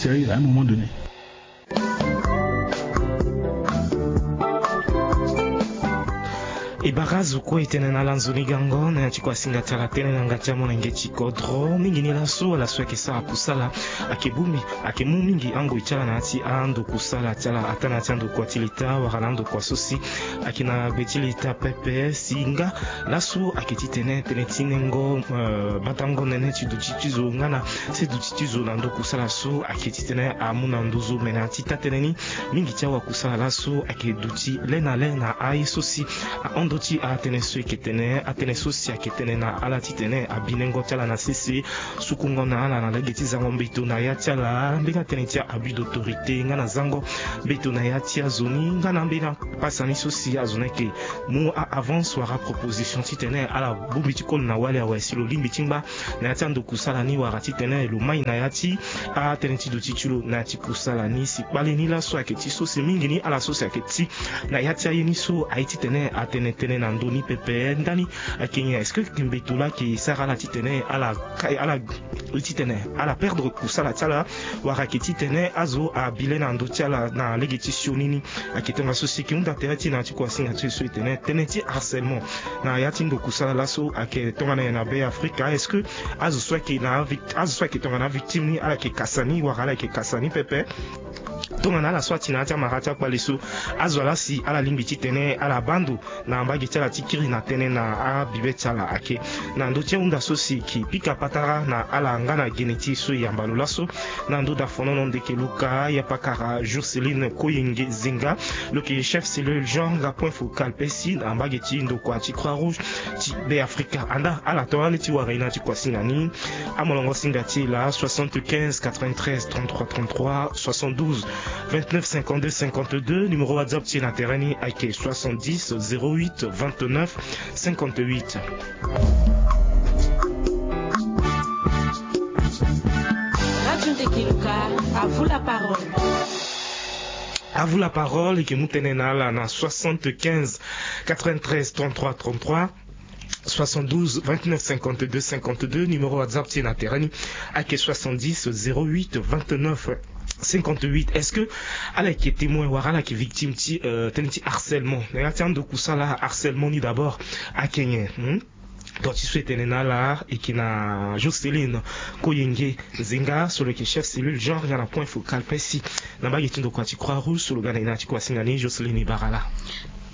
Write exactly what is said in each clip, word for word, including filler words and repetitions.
Sérieux, à un moment donné. E bara azo kue e tene na ala nzoni gango na ya ti kua singa ti ala tënë na yanga ti amolenge ti kodro mingi ni laso ala so ayeke sara kusala ayeke bongbi ayeke mu mingi angoi ti ala na ya ti ando kusala ti ala ataa na ya ti andokua ti leta wala na andokua so si ayeke na gbe ti leta pepe si nga laso ayeke titene tënë ti nengo batango nene ti duti ti zo nga na se duti ti zo na ndo kusala so ayeke titene amu na nduzu me na ya ti taa-tënë ni mingi ti awakusala laso ayeke duti le na le na aye so si ahon ndö ti atënë so e yeke tene atënë so si ayeke tene na ala titene abinengo ti ala na sese sukungo na ala na lege ti zango mbeto na ya ti ala mbeni atënë ti abus d'autorité nga na zango mbeto na ya ti azo ni nga na mbeni apasa ni so si azo ni ayeke mu a-avance wala aproposition titene ala bongbi ti koli na wali awe si lo lingbi ti ngba na ya ti ando kusala ni wala titene lo mai na ya ti atënë ti duti ti lo na ya ti kusala ni si kpale ni laso ayeke ti so si mingi ni ala so si ayeke ti na ya ti aye ni so aye titene atene tënë na ndö ni pepe ndani. Ayeke nyen? Est-ce que mbeto laa ayeke sara ala titene ala kai ala titene ala perdre kusala ti ala wala ayeke titene azo abi le na ndö ti ala na lege ti sioni ni? Ayeke tongana so si e yeke hunda tere ti e na ya ti kuasinga ti e so e tene tënë ti harcèlement na ya ti ndo kusala laso ayeke tongana nyen na Be Afrika? Est-ce que azo so ayeke na avic azo so ayeke tongana avictime ni ala yeke kasa ni wala ala yeke kasa ni pepe? Tongana ala so ati na ya ti amara ti akpale so azo laa si ala lingbi titene ala baa ndo na mbage ti ala ti kiri na tënë na abibe ti ala ayeke na ndö ti ahunda so si e yeke pika patara na ala nga na gene ti e so e yamba lo laso. Na ndö dafonono ndeke luka yapakara Jocelyne Koyenge Zinga lo yeke chef cellule genre point focal pesi na mbage ti ndokua ti Croix Rouge ti Be Afrika. Andaa ala tongana ni ti wara e na ya ti kuasinga ni. Amolongo singa ti e laa soixante-quinze quatre-vingt-treize trente-trois trente-trois, soixante-douze vingt-neuf cinquante-deux cinquante-deux. Numéro WhatsApp ti e na tere ni ayeke soixante-dix zéro huit vingt-neuf cinquante-huit. Radio Ndeke Luka, à vous la parole. À vous la parole, e yeke mu tënë na ala na soixante-quinze quatre-vingt-treize trente-trois trente-trois, soixante-douze vingt-neuf cinquante-deux cinquante-deux. Numéro WhatsApp ti e na tere ni ayeke soixante-dix zéro huit vingt-neuf cinquante-huit. Est-ce que ala yeke témoin wala ala yeke victime ti euh, tënë ti harcèlement na ya ti ando kusala? Harcèlement ni d'abord ayeke nyen? Hmm? Donc ti so e tene na ala e yeke na Jocelyne Koyenge Zinga so lo yeke chef cellule genre nga na point focal pesi na mbage ti ndokua ti Croix Rouge so lo ga na e na ya ti kuasinga ni. Jocelyne, e bara laa.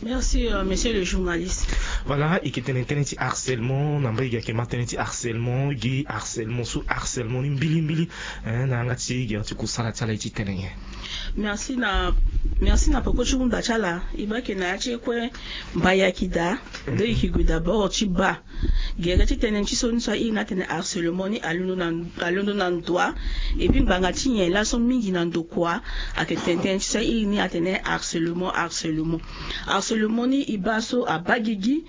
Merci euh, monsieur le journaliste. Voilà, e yeke tene tënë ti harcèlement na mbage gi ayeke ma tënë ti harcèlement gi harcèlement so harcèlement ni mbilimbili hein, na yanga ti gere ti kusala ti ala e ti tene nyen? Merci na merci na peko ti hunda ti ala. E baa eke na ya ti e kue mbayaki daa. Donc e yeke gue d'abord ti baa gere ti tënë ti so ni so airi ni atene harcèlement ni alondo na alondo na ndoa. Et puis ngbanga ti nyen laso mingi na ndokua ayeke tene tënë ti so airi ni atene harcèlement harcèlement. Harcèlement ni e baa so abaa gigi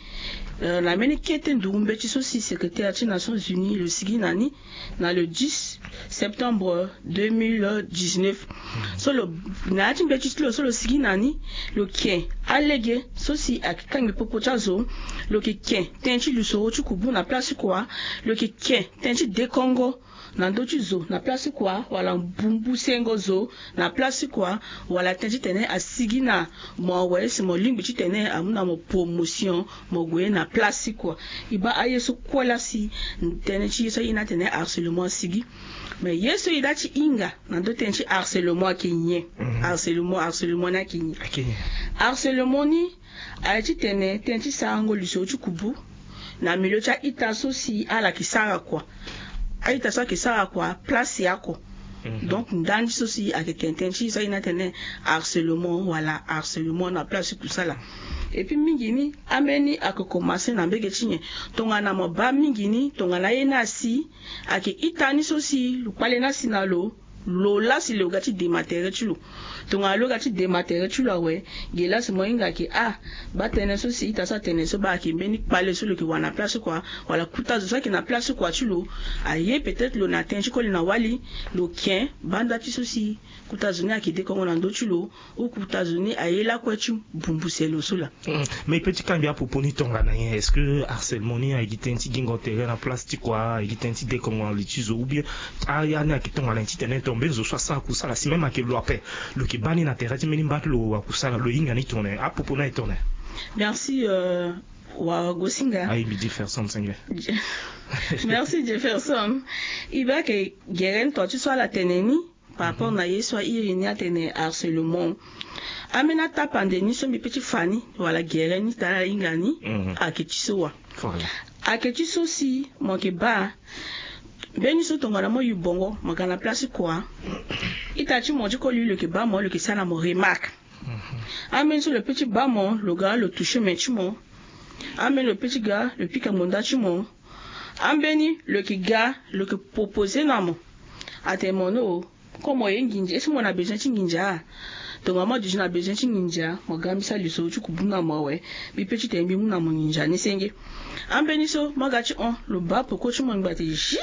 euh, na mbeni kete nduru mbeti so si secrétaire ti Nations Unies lo sigi na ni na le dix septembre deux mille dix-neuf. So lo na ya ti mbeti ti lo so lo sigi na ni lo ke alege so si ayeke kangbi popo ti azo. Lo yeke ke tënë ti lusoro ti kubu na place ti kua. Lo yeke ke tënë ti dekongo na ndö ti zo na place ti kua wala mbumbu sengo zo na place ti kua wala tënë titene asigi na mo awe si mo lingbi titene amu na mo promotion mo gue na place ti kua. E baa aye so kue laa si tënë ti ye so aye ni atene harcèlement asigi. Mais ye so e laa ti hinga na ndö tënë ti harcèlement ayeke nyen? Harcèlement harcèlement ni ayeke nyen? Harcèlement ni aye titene tënë ti sarango lisoro ti kubu na milieu ti a-ita so si ala yeke sara kua. A-ita so ayeke sara kua place ya oko. Donc ndani so si ayeke tene tënë ti so aye ni atene harcèlement wala harcèlement na place ti kusala. Et puis mingi ni ambeni ayeke komanse na mbege ti nyen? Tongana mo baa mingi ni tongana aye ni asi ayeke ita ni so si lo kpale ni asi na lo lo laa si lo ga ti dema tere ti lo. Tongana lo ga ti dema tere ti lo awe ge laa si mo hinga ayeke ah baa tënë so si ita so atene so baa ayeke mbeni kpale so lo yeke wara na place ti kua wala kuta zo so ayeke na place ti kua ti lo. Aye peut-être lo na tënë ti koli na wali lo ken banda ti so si kuta zo ni ayeke dekongo na ndö ti lo. Ou kuta zo ni aye lakue ti bumbuse lo so laa. Mais e peut ti kangbi apopo ni tongana nyen? Est-ce que harcèlement ni ayeke gi tënë ti gingo tere na place ti kua ayeke gi tënë ti dekongo na li ti zo ou bien aya ni ayeke tongana nyen titene Mbeni zo so asara kusala si même ayeke lo ape, lo yeke baa ni na tere ti mbeni mbage ti lo wakusala, lo hinga ni tongana nyen? Apopo ni aye tongana nyen? Merci, euh, Wagosinga. Aye mbi Jefferson Senge. Merci Jefferson. E baa ayeke gere ni tonga ti so ala tene ni par rapport na ye so a iri ni atene harcèlement. Ambeni atapande ni so mbi pe ti fa ni wala gere ni taa ala hinga ni, mhm, ayeke ti so wa. Voilà. Ayeke ti so si mo yeke baa mbeni so tongana mo yu bongo mo ga na place kua, ita ti mo ti koli lo yeke baa mo, lo yeke sara na mo remarque. Mhm. Ambeni so lo pe ti baa mo, lo ga lo toucher main ti mo. Ambeni lo pe ti ga lo pika ngbonda ti mo. Ambeni lo yeke ga lo yeke proposer na mo. Atene mo no, comme mo ye nginza, est-ce que mo na besoin ti nginza? Tongana mo duti na besoin ti nginza, mo ga mbi sara lisoro ti kubu na mo awe. Mbi pe ti tene mbi mu na mo nginza ni senge. Ambeni so mo ga ti hon, lo baa peko ti mo ngba ti zi.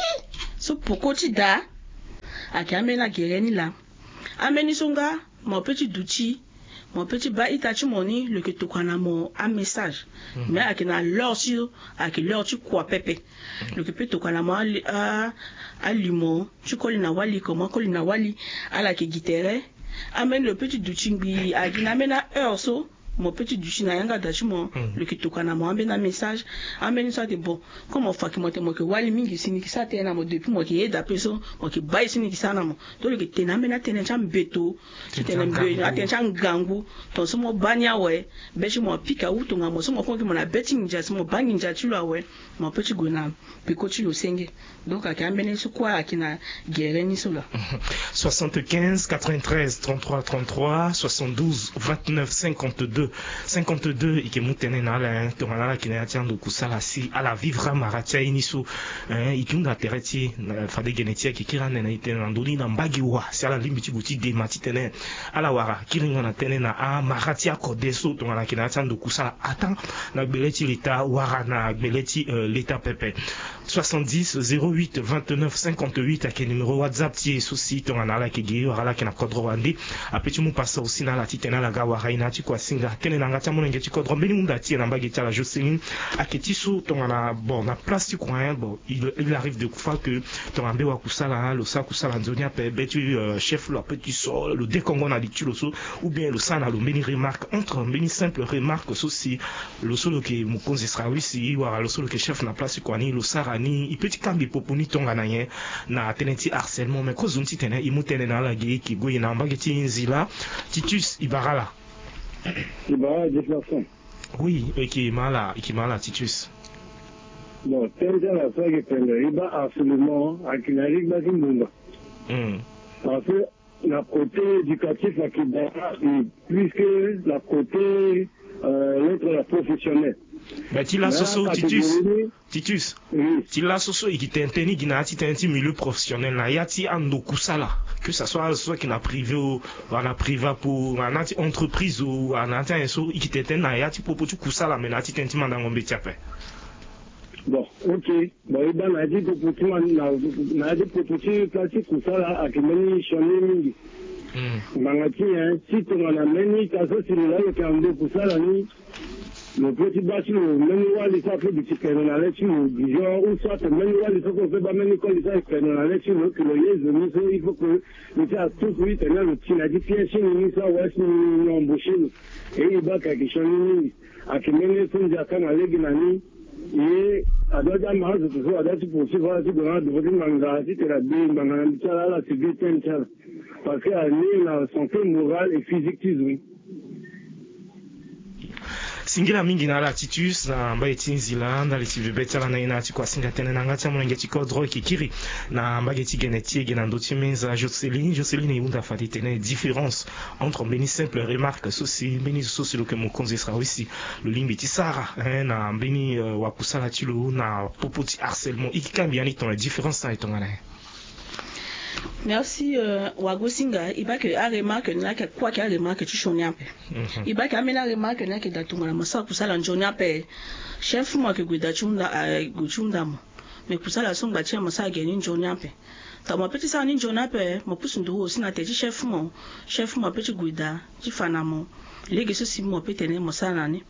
So peko ti daa. Ayeke ambeni agere ni laa. Ambeni so nga mo pe ti duti, mo pe ti baa ita ti mo ni, lo yeke tokua na mo amessage. Mhm. Mais ayeke na l'heure ti lo, ayeke l'heure ti kua pepe. Mhm. Lo yeke pe tokua na mo ali-, a-, alimo ti koli na wali, comment koli na wali, ala yeke gi tere. Ambeni lo pe ti duti ngbii, agi na ambeni aheure so mo pe ti duti na yanga da ti mo, hmm, lo yeke tokua na mo ambeni amessage. Ambeni so ate bon, comme mo fa yeke mo tene mo yeke wali mingi si ni yeke sara tënë na mo, depuis mo yeke yeda pe so mo yeke baa ye so ni yeke sara na mo. Donc lo yeke tene ambeni atënë ti ambeto, ti tene mbe atënë ti angangu. Tongaso mo baa ni awe, be ti mo apika ou tongana mo so mo kue mo yeke mo na be ti nginza si mo baa nginza ti lo awe, mo pe ti gue na peko ti lo senge. Donc ayeke ambeni so kue ayeke na gere ni so laa. Soixante-quinze quatre-vingt-treize trente-trois trente-trois, soixante-douze vingt-neuf cinquante-deux cinquante-deux. E yeke mu tënë na ala, hein, tongana ala yeke na ya ti ando kusala si ala vivre amara ti aye ni so, hein, e yeke hunda tere ti e, na fade gene ti e ayeke kiri ande na e tënë na ndö ni na mbage wa si ala lingbi ti gue ti dema titene ala wara kiri nga na tënë na amara ti akode so tongana ayeke na ya ti ando kusala, ata na gbele ti leta wala na gbele ti, euh, leta pepe. Soixante-dix zéro huit vingt-neuf cinquante-huit ayeke numéro WhatsApp ti e so si tongana ala yeke gi wala ala yeke na kodro wande, ape ti mu pasa aussi na ala titene ala ga wara e na ya ti kua singa. Tënë na yanga ti amolenge ti kodro, mbeni hunda ti e na mbage ti ala Jocelyne ayeke ti so tongana, bon, na place ti kua, hein, bon, il, il arrive de fois que tongana mbe wakusala lo sara kusala nzoni ape, be ti, euh, chef lo ape ti so lo dekongo na li ti lo so, ou bien lo sara na lo mbeni remarque, entre mbeni simple remarque so si lo so lo yeke mokonzi srawisi wala lo so lo yeke chef na place ti kua ni, lo sara ni, e pe ti kangbi popo ni tongana nyen na tënë ti harcèlement? Mais kozoni titene e mu tënë na ala ge, e yeke gue na mbage ti nzila. Titus, e bara ala. E bara ala Jefferson. Oui, e yeke ma ala, e yeke ma ala Titus. Bon, tënë ti ala so ayeke pendere, e baa harcèlement ayeke na ya ti gba ti mbumba. Hmm. Parce que na côté éducatif ayeke daa, et plus que na côté, euh, lettre la professionnelle. Mais ti laso so, Titus, Titus, oui, ti laso so e yeke tene tënë ni gi na ya ti tënë ti milieu professionnel, na ya ti ando kusala, que ça soit azo so ayeke na privé o, wala na Privapo, wala na ya ti entreprise o, wala na ya ti ayen so, e yeke tene tënë na ya ti popo ti kusala, mais na ya ti tënë ti mandango mbeti ape. Bon, ok. Bon, e baa na ya ti popo ti man-, na, na ya ti popo ti place ti kusala ayeke mbeni sioni mingi. Hmm. Ngbanga ti nyen? Si tongana mbeni ita so si lo laa lo yeke na ndo kusala ni, lo pe ti baa ti lo mbeni wali so ape duti pene na le ti lo, disons, ou soit mbeni wali so kue lo pe baa mbeni koli so ayeke pene na le ti lo, que lo ye zo ni so, il faut que lo ti à tout prix tene lo ti na ya ti pièce ti ni ni so awe si ni embaucher lo. E, e baa ka ayeke sioni mingi. Ayeke mbeni ye so ndia kanga lege na ni. Ye adoit ti amara zo so adoit ti poursuivre ala ti gue na adovo ti ngbanga titene abi ngbanga na mbi ti ala, ala subir peine ti ala. Parce que ani na santé morale et physique ti zo ni. Singila mingi na ala Titus na mbai ti nzila ndali ti vebe ti ala na ye na ya ti kuasinga tënë na yanga ti amolenge ti kodro e yeke kiri na mbage ti gene ti e ge na ndö ti menza Jocelyne. Jocelyne, e hunda fade tene différence entre mbeni simple remarque so si mbeni zo so si lo yeke mokonzi srawisi lo lingbi ti sara, hein, na mbeni, euh, wakusala ti lo na popo ti harcèlement. E yeke kangbi ya ni tongana différence ni aye tongana nyen? Merci, euh, Wagosinga. E baa ke aremarque ni ayeke kue ayeke aremarque ti sioni ape. Mhm. E baa ke ambeni aremarque ni ayeke daa tongana mo sara kusala nzoni ape. Chef mo ayeke gue daa ti hunda, ah, gue ti hunda mo. Mais kusala so ngba ti nyen mo sara ge ni nzoni ape? Tongana mo pe ti sara ni nzoni ape, mo pusu nduru aussi na tere ti chef mo. Chef mo ape ti gue daa ti fa na mo. Lege so si mo pe tene mo sara na ni.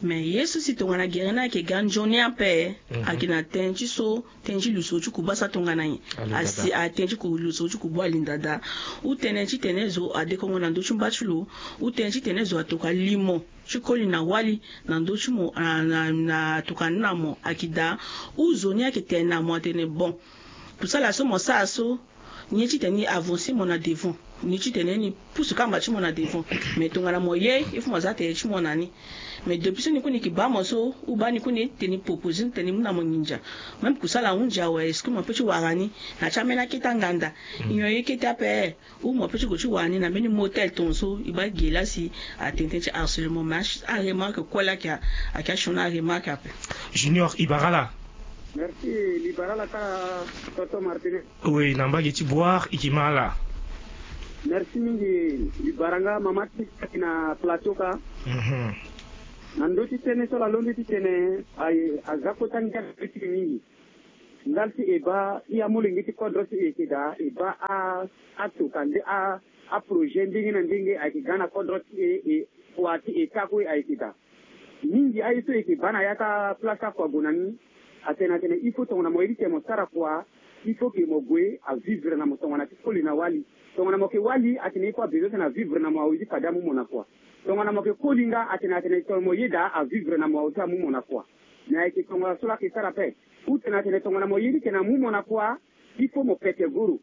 Mais ye so si tongana gere ni ayeke ga nzoni ape, ayeke na tënë ti so, tënë ti luso ti kuba sa tongana nyen? Asi atënë ti ku luso ti kuba alinda daa. Ou tënë ti tene zo adekongo na ndö ti mba ti lo. Ou tënë ti tene zo atokua limo ti koli na wali na ndö ti mo, na tokua ni na mo ayeke daa. Ou zo ni ayeke tene na mo atene bon, kusala so mo sara so, ni ye ti tene ni avancer mo na devant, ni ye ti tene ni pusu kamba ti mo na devant. Mais tongana mo ye, il faut mo za tere ti mo na ni. Mais depuis so ni kue ni yeke baa mo so, ou baa ni kue ni ye ti tene ni proposer ni tene ni mu na mo nginza. Même kusala ahunzi awe, est-ce que mo pe ti wara ni na ti ambeni akete anganda? Nyon ye kete ape. Ou mo pe ti gue ti wara ni na mbeni motel tongaso e baa ge laa si atene tënë ti harcèlement. Mais aremarque kue laa ayeke, ayeke asioni aremarque ape. Junior Ibarala. Merci Libarala kâ. Tonton Martinez. Oui, na mbage ti boire e yeke ma ala. Merci mingi Libaranga mama ti na plateau kâ. Na ndö ti tënë so ala londo ti tene, aye aza kota ngia ti e mingi. Ndali ti e baa i amolenge ti kodro ti e yeke daa, e baa a, atokua nde a, aprojet ndenge na ndenge ayeke ga na kodro ti e, e kua ti e kâ kue ayeke daa. Mingi aye so e yeke baa na ya ti aplace akua gue na ni, atene atene il faut tongana mo ye ti tene mo sara kua, il faut ke mo gue avivre na mo tongana ti koli na wali. Tongana mo yeke wali atene il faut abezoin tene avivre na mo awe ti fade amu mo na kua. Tongana mo yeke koli nga atene atene tongana mo ye daa avivre na mo awe ti amu mo na kua. Mais ayeke tongana so laa ayeke sara ape. Ou tene atene tongana mo ye ti tene amu mo na kua, il faut mo pete goro.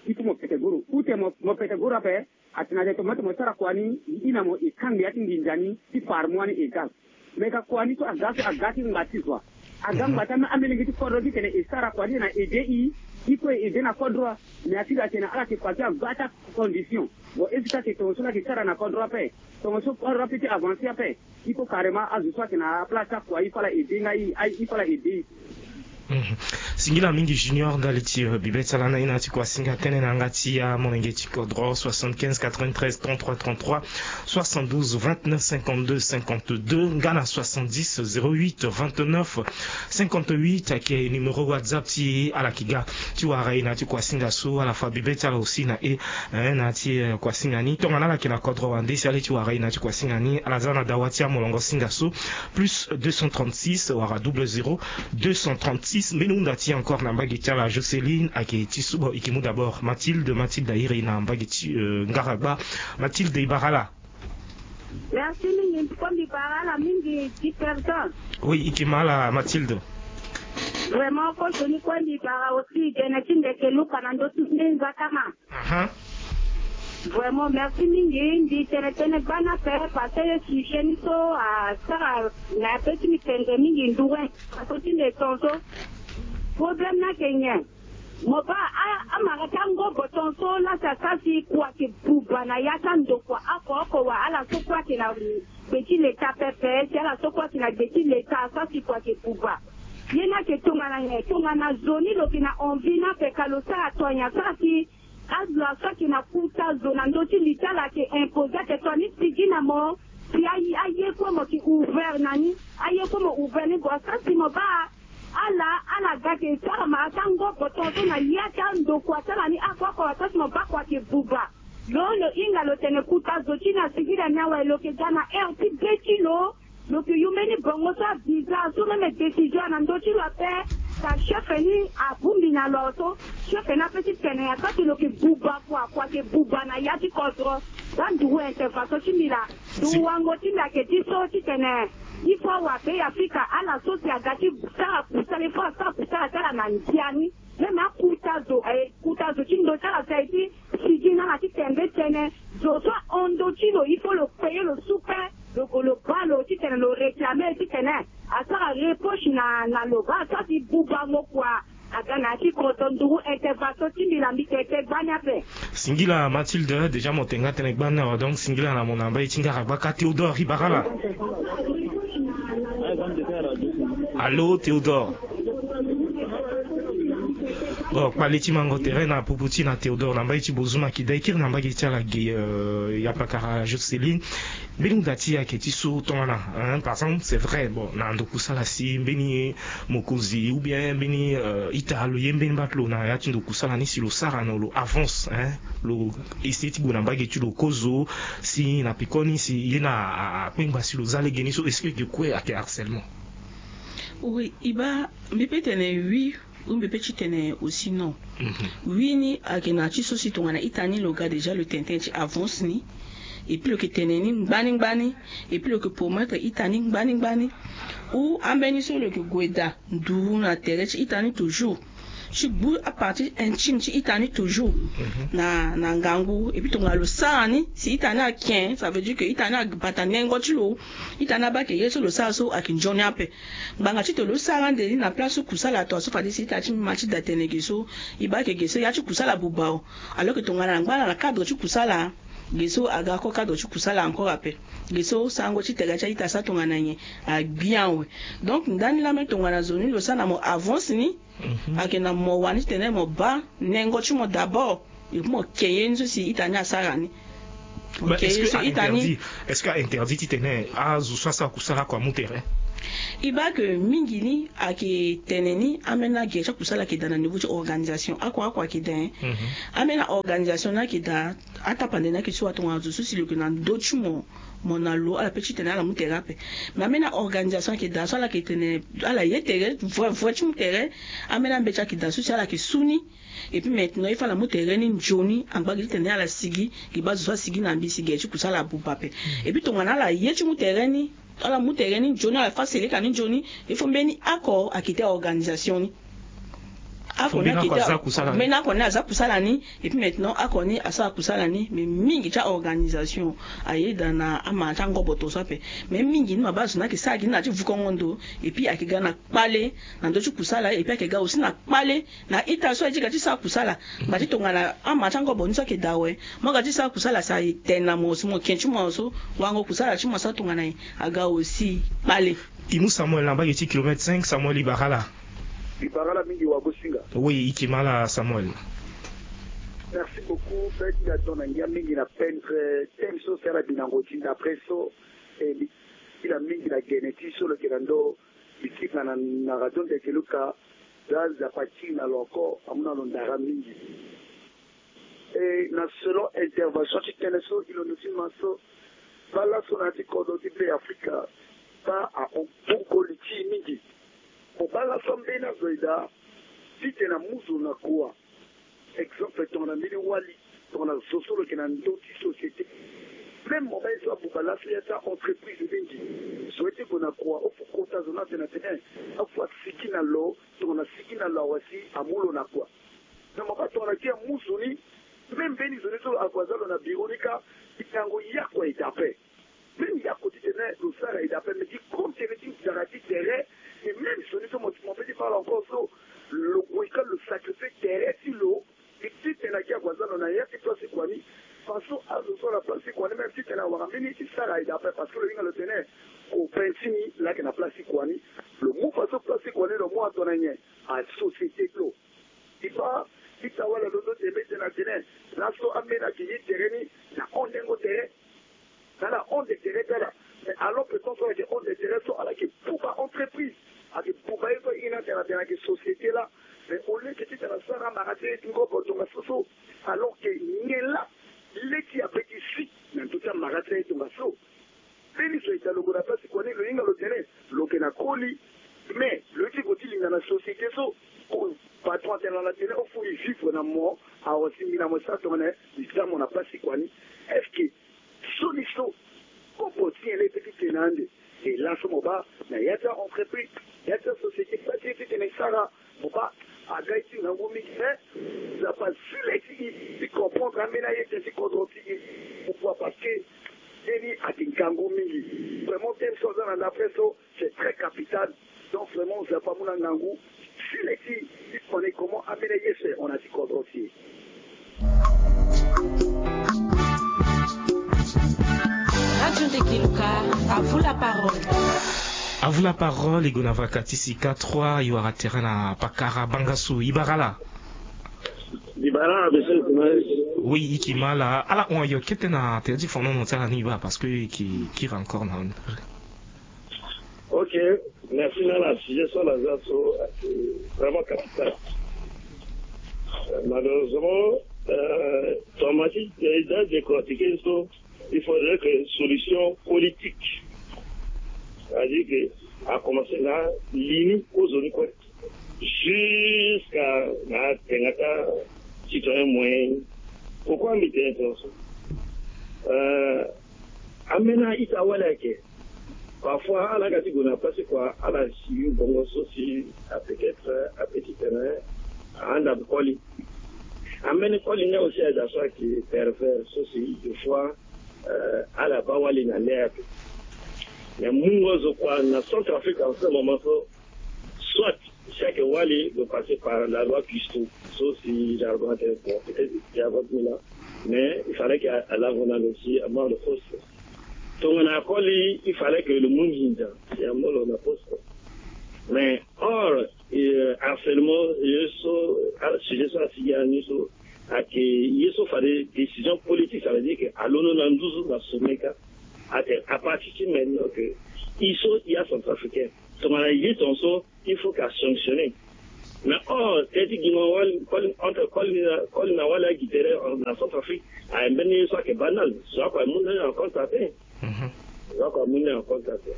Il faut mo pete goro. Ou tene mo, mo pete goro ape, atene atene tongana mo sara kua ni, i na mo e kangbi ya ti nginza ni ti par mois ni égal. Mais ka kua ni so aga so aga ti ngba ti zo wa. Aga ngba ti ame, amelenge ti kodro ti tene e sara kua ti tene a aider i. I kue e aider na kodro wa. Mais a ti ga tene ala yeke kua ti aga ti acondition. Bon, est-ce que ayeke tongaso laa ayeke sara na kodro ape? Tongaso kodro ape ti avancer ape. Il faut carrément azo so ayeke na aplace akua i fâ ala aider nga i, i fâ ala aider i. Singila mingi Junior ndali ti bibe ti ala na ye na ya ti kuasinga tënë na yanga ti amolenge ti kodro. Soixante-quinze quatre-vingt-treize trente-trois trente-trois, soixante-douze vingt-neuf cinquante-deux cinquante-deux nga na soixante-dix zéro huit vingt-neuf cinquante-huit ayeke numéro WhatsApp ti ala yeke ga ti wara e na ya ti kuasinga so. Ala fa bibe ti ala aussi na e, eh, na ya ti, eh, kuasinga ni. Tongana ala yeke na kodro wande si ala ye ti wara e na ya ti kuasinga ni, ala za na dawa ti amolongo singa so, plus deux cent trente-six wala double zéro deux cent trente-six. Mbeni hunda ti e encore na mbage ti ala. Joceline ayeke ti subo, e yeke mu d'abord Mathilde. Mathilde a iri e na mbage ti, eh, ngaragba. Mathilde, e bara ala. Merci mingi, mbi kue mbi bara ala mingi, Jefferson. Oui, e yeke ma ala Mathilde. Vraiment, kozo ni kue mbi bara aussi, gene ti ndeke luka na ndö ti nde nzakama. Aha. Vraiment, merci mingi, mbi tene tënë gbani ape, parce que sujet ni so asara na ya pe ti mbi tene mingi nduru, parce que ti mbi tongaso. Problème ni ayeke nyen? Mo baa a, amara ti angobo tongaso laa si asara si kua ayeke buba na ya ti andokua oko oko, wala ala so kue ayeke na gbe ti leta pepe, si ala so kue ayeke na gbe ti leta asara si kua ayeke buba. Ye ni ayeke tongana nyen? Tongana zo ni lo yeke na envie ni ape ka lo sara tongana nyen asara si azo so ayeke na kota zo na ndö ti li ti ala ayeke imposer ayeke tongana ni sigi na mo, si aye, aye kue mo yeke ouvert na ni, aye kue mo ouvert ni, bon asara si mo baa ala, ala ga yeke sara mara ti angobo tongaso na ya ti andokua ti ala ni oko oko, asara si mo baa kua ayeke buba. Lo, lo hinga lo tene kota zo ti ni asigi na ni awe, lo yeke ga na heure ti be ti lo, lo yeke yu mbeni bongo so avisa so même décision na ndö ti lo ape. Ka chef ni abongbi na lo awe so, chef ni ape ti tene asara si lo yeke buba kua, kua ayeke buba na ya ti kodro. Za nduru intervention ti mbi laa. Nduru wango ti mbi ayeke ti so ti tene il faut awabe ya fika ala so si aga ti sara kusala, il faut asara kusala ti ala na ndia ni. Même akota zo, eh, kota zo ti ndo ti ala si aye ti sigi na ala ti tembe tënë. Zo so ahon ndö ti lo, il faut lo payer lo supe, lo gue lo baa lo ti tene lo réclamer ti tene asara reproche na, na lo, baa asara si bubango kua aga na ya ti kodro. Nduru intervention ti mbi laa, mbi tene tënë gbani ape. Singila Mathilde, déjà mo tene nga tënë gbani awe, donc singila na mo na mbai ti ngaragba kâ. Théodore, e bara ala. Allô, Théodore. Bon, kpale ti mango tere na pupu ti na Théodore na mbage ti Bozuma ki dai kiri na mbage ti ala ge, euh, ya pakara Jocelyn. Mbeni hunda ti ayeke ti so tongana, hein, par exemple, c'est vrai, bon, na ndo kusala si mbeni mokonzi ou bien mbeni, euh, ita lo ye mbeni baa ti lo na ya ti ndo kusala ni si lo sara na lo avance, hein, lo essayer ti gue na mbage ti lo kozo, si na pekoni si ye na a, a, akpengba si lo za lege ni so, est-ce que ge kue ayeke harcèlement? Oui, e baa, mbi pe tene oui, ou mbi pe ti tene aussi non. Mhm. Oui ni ayeke na ti so si tongana ita ni lo ga déjà lo tene tënë ti avance ni, et puis lo yeke tene ni ngbani ngbani, et puis lo yeke promettre ita ni ngbani ngbani. Ou ambeni so lo yeke gue daa nduru na tere ti ita ni toujours, ti gbu apartie intime ti ita ni toujours, mhm, na, na ngangu. Et puis tongana lo sara ni si ita ni ake, ça veut dire que ita ni abata nengo ti lo, ita ni abaa ke ye so lo sara so ayeke nzoni ape. Ngbanga titene lo sara ande ni na place ti kusala, tongaso fade si ita ti ma ti da tene ge so, e baa ke ge so ya ti kusala abuba o. Alors que tongana angba ala na cadre ti kusala, ge so aga encore cadre ti kusala encore ape. Ge so sarango ti tere ti a-ita so tongana nyen, agbi awe. Donc ndani laa même tongana zo ni lo sara na mo avance ni, mhm, ayeke na mo wani titene mo baa nengo ti mo d'abord, et puis mo ke ye ni so si ita ni asara ni. Bah, ok, est-ce que so a ita ni interdit, est-ce que a interdit titene azo so asara kusala kua amu tere? E baa ke mingi ni ayeke tene ni ambeni agere ti akusala ayeke daa na niveau ti organisation. Oko oko ayeke daa, hein. Mhm. Ambeni a-organisation ni ayeke daa, atapande ni ayeke ti wa tongana zo so si lo yeke na ndö ti mo, mo na lo, ala pe titene ala mu tere ape. Mais ambeni a-organisation ayeke daa so ala yeke tene ala ye tere vrai vrai ti mu tere. Ambeni ambeti ayeke daa so si ala yeke su ni. Et puis maintenant il faut ala mu tere ni nzoni, angba gi titene ala sigi, gi baa zo so asigi na mbi si gere ti kusala abuba ape. Et puis tongana ala ye ti mu tere ni, ala mu tere ni nzoni, ala fâ seleka ni nzoni, il faut mbeni oko ayeke ti organisation ni. Oko ni ayeke ti a-, mbeni oko ni aza kusala ni. Et puis maintenant oko ni asara kusala ni, mais mingi ti a-organisation ayeda na amara ti angoboto so ape. Mais mingi ni ma baa zo ni ayeke sara gi ni na ti vukongo ndo, et puis ayeke ga na kpale na ndö ti kusala, et puis ayeke ga aussi na kpale na ita so aye ti ga ti sara kusala. Ngba ti tongana amara ti angobo ni so ayeke daa awe, mo ga ti sara kusala si aye tene na mo si mo ke ti mo so, wango kusala ti mo asara tongana nyen, aga aussi kpale. E mu Samuel na mbage ti kilomètre cinq, Samuel e bara ala. E bara ala mingi wagosinga. Oui, e ke ma ala Samuel. Merci beaucoup. Peut-être nga ton na ngia mingi na pendre thème so si ala bi na ngoti d'après so, eh, bi, ti la mingi na gene ti so lo yeke na ndo. Mbi ti ga na, na radio ndeke Luka, za Nzapa ti na lo encore, amu na lo ndara mingi. E na selon intervention ti tënë so, e londo ti ma so, baa laso na ya ti kodro ti Be Afrika, baa ahon bongoli ti e mingi. Mo baa laso ambeni azo e daa titene amu zo na kua. Exemple, tongana mbeni wali, tongana zo so lo yeke na ndö ti société. Même mo baa ye so abuba laso ya ti a-entreprise mingi. Zo ye ti gue na kua, o fu kota zo ni atene atene, eh, afu asigi na lo, tongana asigi na lo awe si amu lo na kua. Na mo baa tongana gi amu zo ni, même mbeni zo ni so ague aza lo na biro ni kâ, e ngangu yako e daa ape. Même yako titene lo sara e daa ape, mais gi compte tene ti nzara ti tere, et même zo ni so mo, mo pe ti baa lo encore so, lo gue kâ lo sacrifier tere ti lo, e titene agi ague aza lo na ya ti place ti kua ni. Façon azo so na place ti kua ni même titene awara mbeni ye ti sara e daa ape, parce que lo hinga lo tene copain ti ni laa ayeke na place ti kua ni. Lo mu façon place ti kua ni lo mu atona nyen? Asociété ti lo. E baa ita wala lo so ti e be tene atene laso ambeni ayeke ye tere ni na hondengo tere. Na ala honde tere ti ala. Mais alors que tant so ala yeke honde tere so, ala yeke buba entreprise. Ayeke buba ye so aye ni atene atene ayeke société laa. Mais au lieu que titene asara amara ti aye ti ngobo tongaso so, alors que nyen laa le ti ape ti si na ndö ti amara ti aye tongaso. Mbeni zo e daa lo gue na place ti kua ni, lo hinga lo tene lo yeke na koli. Mais lo ye ti gue ti linda na société so, patron atene na ala tene o fu e vivre na mo, awe si mbi na mo e sara tongana e za mo na place ti kua ni. Est-ce que so ni so kopo ti nyen laa e pe ti tene ande? E laso mo baa na ya ti a-entreprise, ya ti asociété, kpale ti e titene e sara. Mo baa aga ye ti ngangu mingi, mais Nzapa azi le ti e ti comprendre ambeni aye ti e ti kodro ti e. Pourquoi? Parce que ye ni ayeke ngangu mingi. Vraiment thème so aza na ndapre so, c'est très capital. Donc vraiment Nzapa amu na ngangu ti le ti, ti koni comment ambeni aye so e hon na ti kodro ti e. Radio Ndeke Luka, à vous la parole. À vous la parole, e gue na vaka ti sika trois, e wara tere na pakara Bangassou. E bara ala. Di bara na bese. Oui, i ki ma ala. Ala hon ayo kete na tene ti fonono ti ala ni ba, parce que i ki kiri encore na. Ok. Merci na ala sujet so ala za so. Vraiment capital. Malheureusement, euh, tomati déjà décortiqué so. Il faudrait que solution politique, c'est-à-dire que a commencé na lini ozoni kue jusqu'à na tengata citoyen moyen. Pourquoi mi tene tonso? Euh, amena ita wala ke. Parfois ala ga ti gue na place kua ala si bongo so si a peut-être a petit terrain a anda koli. Ameni koli nga aussi a da so ake pervers so si des fois euh, ala ba wali na l'air. Mais mungo zo kua na Centrafrique en ce moment so, soit chaque wali doit passer par la loi Pistou, so si l'argument est bon, peut-être qu'il y a votre là, mais il fallait qu'à la on a aussi à mort de force. Donc on a collé, il fallait que le monde y a mort on a force. Mais or, euh, harcèlement, euh, so, ah, sujet so asigi ani so, ake ye so fade décision politique, ça veut dire que alondo na nduzu na sommet ka. Ake à partir ti maintenant que i so i a centrafricain, tongana ye tonso il faut ka sanctionner. Mais or teti gima wali koli entre koli na koli na wali agi tere na Centrafrique, a mbeni ye so ake banal so ako amu na en compte ape. Donc amu na en compte ape.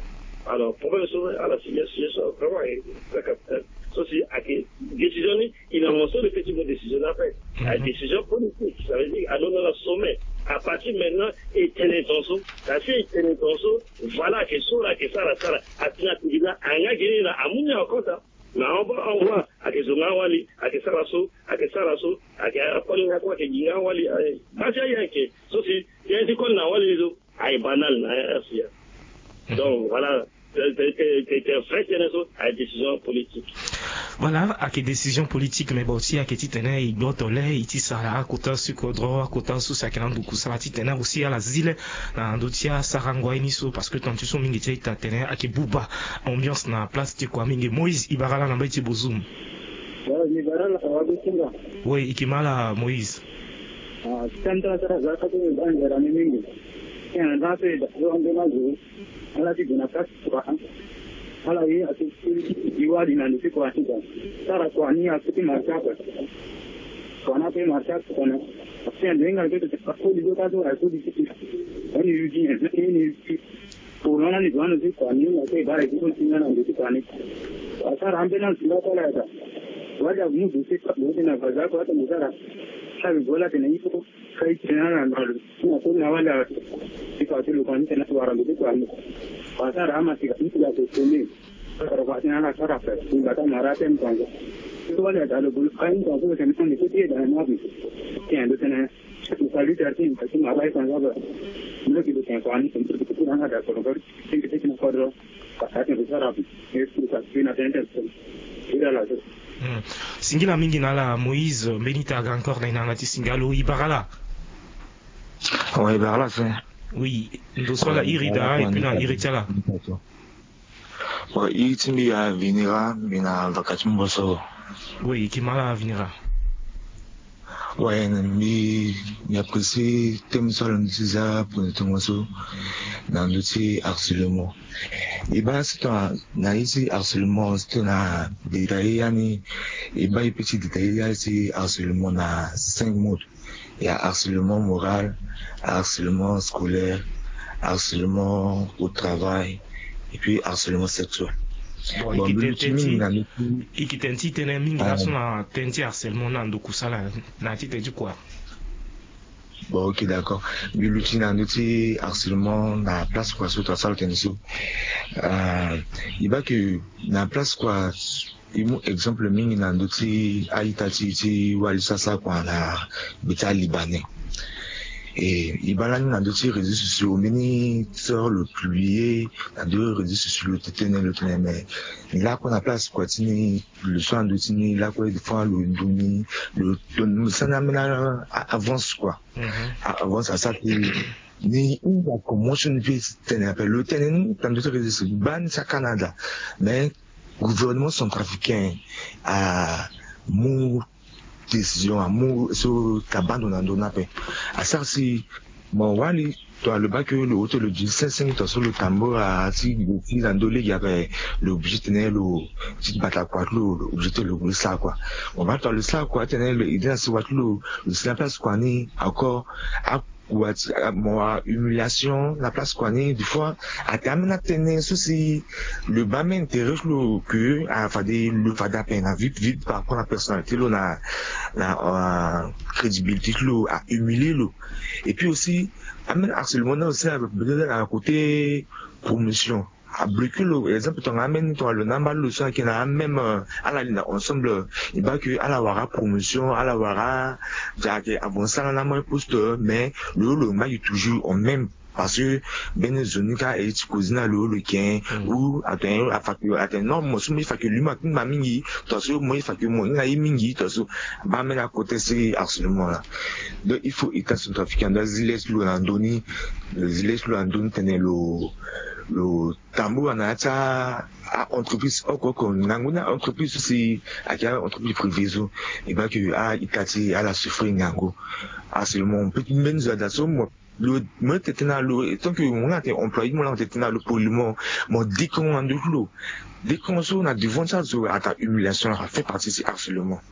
Alors problème so ala si ye so vraiment est très capital. So si ake décision ni il a mentionné le petit mot décision na fait. La décision politique, ça veut dire alors dans le sommet, à partir maintenant et tene tonso, la fille tene tonso, voilà que so la que ça la ça la atina tindila anga gini na amu na en compte. Na on va on va ake zonga wali ake sara so ake sara so ake akoli na ko ake ginga wali. Basi aye ake so si tene ti koli na wali so aye banal na R C A. Donc voilà, c'est vrai tene so aye décision politique. Voilà, ake décision politique, mais bon, si ake ti tene i gboto le i ti sara akota sukodro akota so si ake na nduku sara ti tene aussi ala zile na ndo ti asarango aye ni so, parce que tant ti so mingi ti ita tene ake buba ambiance na place ti kua mingi. Moïse, i bara la na mbeti ti bozum. Oui, i ki ma la Moïse. Ala ti gue na place ti kua. Ala ye ake ti wali na ndo ti kua ni. Sara kua ni ake ti marché kua. Kua ni ake marché kua na. Ake ando hinga ake ti kua koli zo ka so aye koli ti kua. Ani yugi ani yugi. Pour lana ni gwano ti kua ni na te bara ti ko ti na ndo ti kua ni. Asara ambulance la kala ta. Wala mu do se ka do na baza ko ta mutara. Sabi bola tena iko. Kai tena na na na ko na wala. Ti kua ti lo kua ni tena wara ndo ti kua ni. Asara ama ti ka ti la ko tene. Sara kua tena na sara pe. Ni bata mara tem kua. Ti wala ta lo bulu kai kua ko tena ni ko ti da na bi. Ti ando tena. Singila mingi na ala Moïse, mbeni ta ga encore na inanga ti singalo i bara la. Awa i bara la se. Oui, ndo so ala iri daa et puis na iri ti ala. Bon, iri ti mbi ya Vinera, mbi na vaka ti mboso. Oui, i ki ma la Vinera. Ouais, mbi mbi apprécier thème so ala ndo ti za pone tongaso na ndo ti harcèlement. E baa si tongana na ye ti harcèlement si tongana détailler yani, e baa e peut ti détailler ya ti harcèlement na cinq mots. Il y a harcèlement moral, harcèlement scolaire, harcèlement au travail et puis harcèlement sexuel. Bon, bon, i ki tene ti tene mingi laso na tene ti harcèlement na ndo kusala na ti tene ti kua. Bon, ok, d'accord. Mbi luti na ndo ti harcèlement na place kua so to asara tene so. Euh, i baa ke na place kua i mu exemple mingi na ndo ti a-ita ti ti wali so asara kua na gbe ti alibanais. E i baa lani na ndo ti réseaux sociaux mbeni sœur lo publier na ndo réseaux sociaux lo tene lo tene mais ni lakue na place kua ti ni. Lo so ando ti ni lakue des fois lo ndo ni lo ndo ni sani ambeni avance kua. Avance asara ti ni hinga commotion ni pe tene ape lo tene ni tando ti réseau baa ni ti aCanada. Mais gouvernement centrafricain amu décision amu so ta bando na ndö ni ape. Asara si mo wali, tongana lo baa ke lo ute lo di cinq cent mille, tongaso lo tambula ti gue ti na ndö lege ape, lo obligé titene lo ti bata kua ti lo, lo obligé titene lo sara kua. Mo baa tongana lo sara kua titene lo aidé na sewa ti lo, lo si na place kua ni encore, akua ti mo ahumiliation na place kua ni. Des fois atene ambeni atënë so si lo baa ambeni intérêt ti lo ke afade lo fade ape na vite vite par rapport na personnalité ti lo na na crédibilité ti lo, ahumilie lo. Et puis aussi ambeni harcèlement ni aussi na côté promotion, abloqué lo. Exemple tongana ambeni tongana lo na mbali lo so ayeke na amême, ala li na ensemble, e baa ke ala wara promotion, ala wara, ayeke avancer ala na amême poste, mais lo lo ngba gi toujours au même. Parce que mbeni zo ni kâ e ti kozi na lo lo yeke ou atene, atene non, mo so mo ye fa ke lui mo akingba mingi, tongaso mo ye fa ke mo hinga ye mingi, tongaso abaa mbeni acontexte ti harcèlement laa. Donc il faut État centrafricain ando azi le ti lo na ndö ni, lo zi le ti lo na ndö ni titene lo lo tambula na ya ti a entreprise oko oko. Ngangu ni a entreprise so si ayeke a entreprise privée so, e baa ke a-ita ti e ala souffrir ngangu. Harcèlement peut ti mbeni zo ada so mo, lo, mo ye tene tënë na lo, tant que mo laa atene employé, mo laa mo tene tënë na lo poliment, mo dékongo na ndö ti lo. Dékongo so na devant ti azo ata humiliation, afa fait partie ti harcèlement.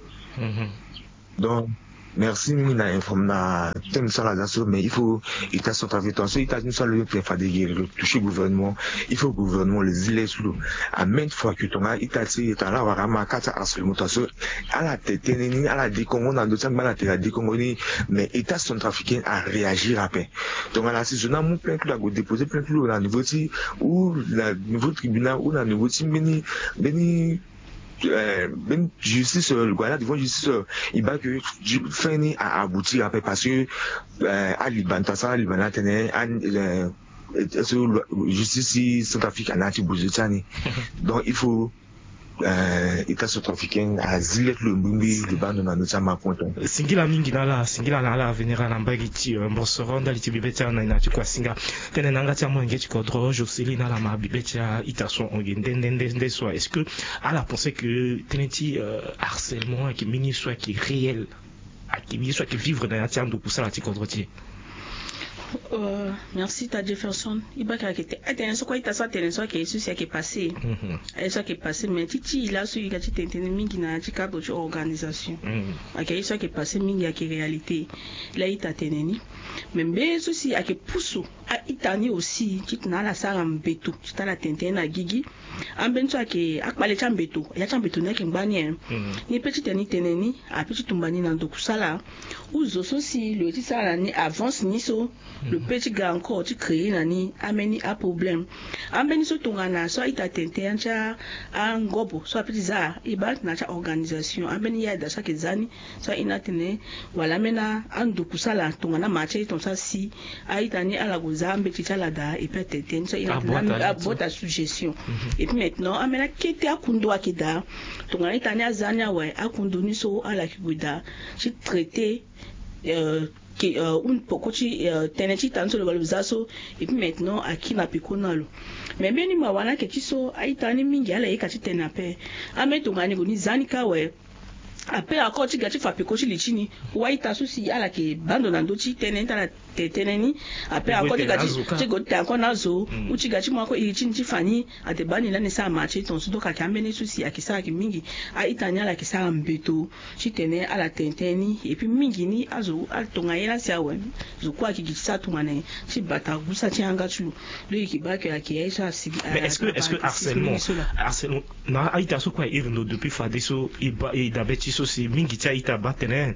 Donc merci mingi na inform na thème so ala za so, mais il faut État centrafricain, tongaso ita ti ni so alo ye tene fade e toucher gouvernement, il faut gouvernement lo zi le ti lo, à maintes fois que tongana ita ti e tongana ala wara ama kâ ti harcèlement, tongaso ala tene tënë ni, ala dékongo na ndö ti angba na tene ala dékongo ni. Mais État centrafricain aréagir ape. Tongana si zo ni amu plainte lo, ague déposer plainte lo na niveau ti, ou na niveau tribunal ou na niveau ti mbeni, mbeni, mbeni justice, lo gue na devant justice, e baa ke fin ni a aboutir ape, parce que aliba ni, tongaso aliba ni atene justice ti Centrafrique ana ti bozo ti ani. Donc il faut État centrafricain azi le ti lo bongbi, lo baa ndo na ndö ti amakonto. Singila mingi na ala, singila na ala avenir na mbage ti mosoro ndali ti bibe ti ala na ina ti kuasinga. Tënë na yanga ti amolenge ti kodro Jocelyne Alama, bibe ti a-ita so ahon ge nde nde nde nde so, est-ce que ala pense que tënë ti harcèlement ayeke mbeni so ayeke réel, ayeke mbeni so ayeke vivre na ya ti ando kusala ti kodro ti e? Merci ta Jefferson. E baa ke ayeke tene so kue a-ita so atene so ayeke ye so si ayeke passé. Aye so ayeke passé, mais ti ti e laso e ga ti tene tënë mingi na ya ti cadre ti organisation. Ayeke aye so ayeke passé mingi, ayeke réalité. Laa a-ita atene ni. Mais mbeni so si ayeke pusu a-ita ni aussi titene ala sara mbeto titene ala tene tënë na gigi. Ambeni so ayeke akpale ti ambeto, ya ti ambeto ni ayeke ngba ni e. Ni peut titene e tene ni, a peut ti tumba ni na ndo kusala. Ou zo so si lo ye ti sara na ni avance ni so, lo peut ti ga encore ti créer na ni ambeni aproblème. Ambeni so tongana so a-ita atene tënë ti angobo so a peut ti za, e baa na ya ti a-organisation, ambeni yada so ayeke za ni, so a-ina atene wala ambeni ando kusala tongana ama ti aye tongaso asi, a-ita ni ala gue za ambeti ti ala daa, et puis atene tënë so a-ina atene abota sous gestion. Et puis maintenant ambeni akete akundo ayeke daa. Tongana a-ita ni aza ni awe, akundo ni so ala yeke gue daa ti traiter ke un peko ti tënë ti ita ni so lo baa lo za so. Et puis maintenant aki na peko na lo. Mais mbeni mawa ni ayeke ti so a-ita ni mingi ala yeka ti tene ape. Ambeni tongana ni gue ni za ni kâ awe, ape encore ti ga ti fa peko ti li ti ni. Ou a-ita so si ala yeke baa ndo na ndö ti tënë ti ala tene tënë ni. Ape encore ti ga ti, ti gue ti tene encore na azo, ou ti ga ti mu encore iri ti ni ti fa ni. Ate baa ni lani sara ma ti e tongaso. Donc ayeke ambeni so si ayeke sara ayeke mingi. A-ita ni ala yeke sara mbeto titene ala tene tënë ni. Et puis mingi ni azo atongana ye laa si awe, zo kue ayeke gi ti sara tongana nyen ti bata gusa ti yanga ti lo. Donc e yeke baa ke ayeke ye so asi. Mais est-ce que, est-ce que harcèlement, harcèlement na a-ita so kue airi ndo depuis fadeso, e baa e dabe ti so si mingi ti a-ita abaa tene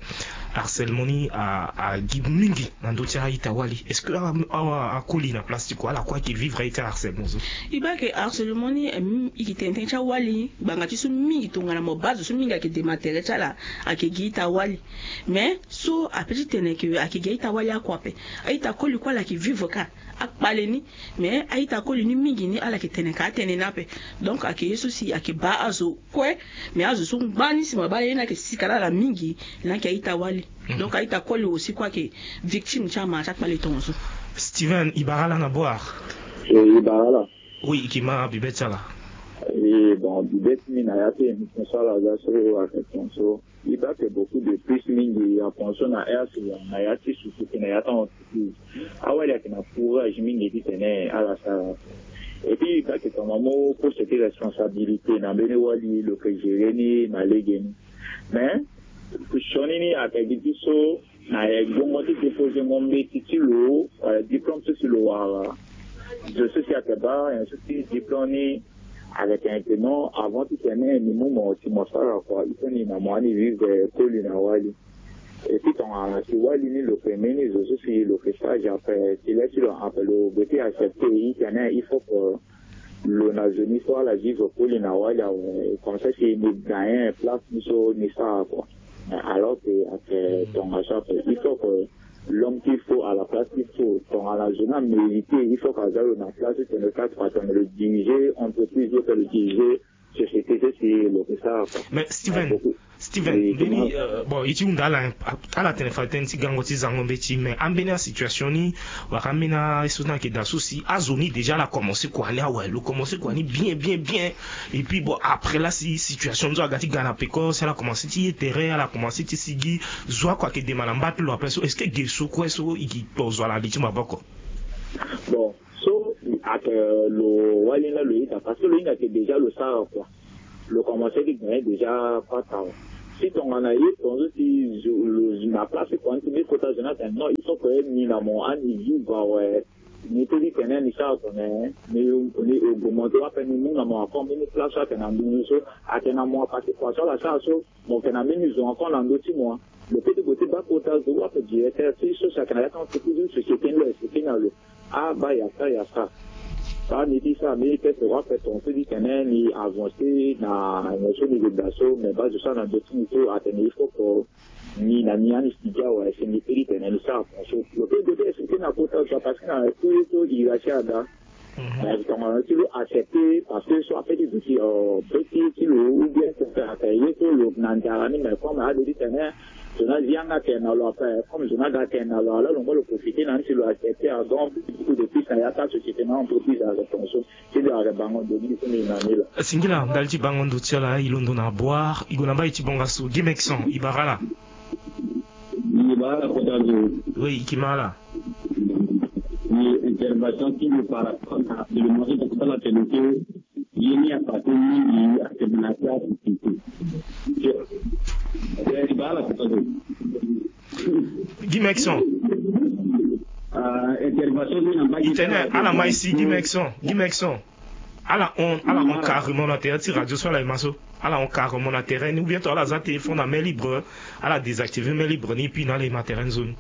harcèlement ni agi mingi na ndö ti a-ita-wali. Est-ce que awa akoli na place ti kua ala kue ayeke vivre aye ti harcèlement so? E baa ke harcèlement ni e yeke tene tënë ti awali. Ngbanga ti so mingi tongana mo baa zo so mingi ayeke dema tere ti ala, ayeke gi a-ita-wali. Mais so ape ti tene ke ayeke gi a-ita-wali akua ape. A-ita koli kue ala yeke vivre kâ akpale ni. Mais a-ita koli ni mingi ni ala yeke tene ka atënë ni ape. Donc ayeke ye so si ayeke baa azo kue. Mais azo so ngba ni si mo baa ye ni ayeke sika na ala mingi, ni ayeke a-ita-wali. Donc a-ita koli aussi kue ayeke victime ti ama ti akpale tongaso. Steven, e bara ala na boire? E bara ala. Oui, e yeke ma bibe ti ala. E bon, bibe ti ni na ya ti émission so ala za so ayeke ton so, e baa ayeke beaucoup de plus mingi apenso na aire so na ya ti société na ya ti entreprise. Awali ayeke na courage mingi titene ala sara. Et puis e baa ayeke tongana mo pose ti responsabilité na mbeni wali lo yeke gérer ni na lege ni. Mais sioni ni ayeke gi ti so na e gbongo ti déposer ngo mbeti ti lo, eh, diplôme so si lo wara. Zo so si ayeke baa nyen so si diplôme ni ayeke tene non, avant titene ni mu mo si mo sara kua, il faut ni na mo ani vivre koli na wali. Et puis tongana si wali ni lo yeke mbeni zo so si lo yeke stage ape, si le ti lo ape lo be ti accepter e tene il faut que lo na zo ni so ala vivre koli na wali awe, comme ça si ni gagner place ni so ni sara kua. Mais alors que ayeke tongaso ape, il faut que l'homme qu'il faut à la place qu'il faut, tongana zo ni amériter, il faut que aza lo na place titene lo sara kua, tongana lo diriger entreprise, il faut lo diriger société so si lo yeke sara kua. Mais Steven, Steven, mbeni, euh, bon, e ti hunda ala, ala tene fa tënë ti gango ti zango mbeti, mais ambeni asituation ni wala ambeni aye so ni ayeke daa so si azo ni déjà ala commencé kua ni awe, lo commencé kua ni bien bien bien. Et puis bon, après la si situation ni so aga ti ga na peko, si ala commencé ti ye tere, ala commencé ti sigi, zo oko ayeke dema na mba ti lo après so, est-ce que ge so kue so e ke to zo ala li ti maboko? Bon, so ayeke lo wali ni la lo ita, parce que lo hinga ayeke déjà lo sara kua. Lo commencé ti gagner déjà pas awe. Si tongana ye tongaso si zo lo na place ti kua ni ti mbi kota zo ni atene non, il faut que ni na mo ani vivre awe. Ni peut ti tene ni sara tongana ni, ni augmenter ape, ni mu na mo encore mbeni place so ayeke na ndungu so, ayeke na mo apassé kua so ala sara so, mo yeke na mbeni zo encore na ndö ti mo. Lo peut ti gue ti baa kota zo ape, directeur ti so si ayeke na ya ti entreprise ou société ni lo expliqué na lo. Ah, baa ya sara, ya sara. Baa ni ti sara mbeni test ape tongaso ti tene ni avancer na nyen so ni yeke daa so, mais baa zo so ayeke na ndö ti ni so atene il faut que ni na ni ani studio awe, si ni peut ti tene ni sara ape so. Lo peut gue ti expliqué na kota zo, parce que na tout ye so hiérarchie ada. Mais tongana ti lo accepter, parce que so ape ti zo si, euh, petit ti lo ou bien ayeke ye so lo na nzara ni, mais comme ade ti tene zo ni azi yanga atene na lo ape, comme zo ni aga atene na lo, ala lo ngba lo profiter na ni si lo accepter. Ah, donc beaucoup de plus na ya ti asociété na entreprise ayeke tongaso. Ti lo ayeke bango ndo ni so ni na ni la. Singila ndali ti bango ndo ti ala, e londo na boire, e gue na mbai ti bongaso. Guy Mexon, e bara ala. E bara ala kota zo. Oui, e ke ma ala. E intervention ti lo par rapport na élément ti tokota la tene ke ye ni apassé mingi atene na ti asociété. E bara ala kota zo. Guy Mexon. Ah, intervention ni na mbai ti tene ala mai si Guy Mexon, Guy Mexon. Ala hon, ala hon carrément na terrain ti radio so ala yema so. Ala hon carrément na terrain ni, ou bien to ala za téléphone na main libre, ala désactiver main libre ni, puis na ala yema terrain ni zo ni.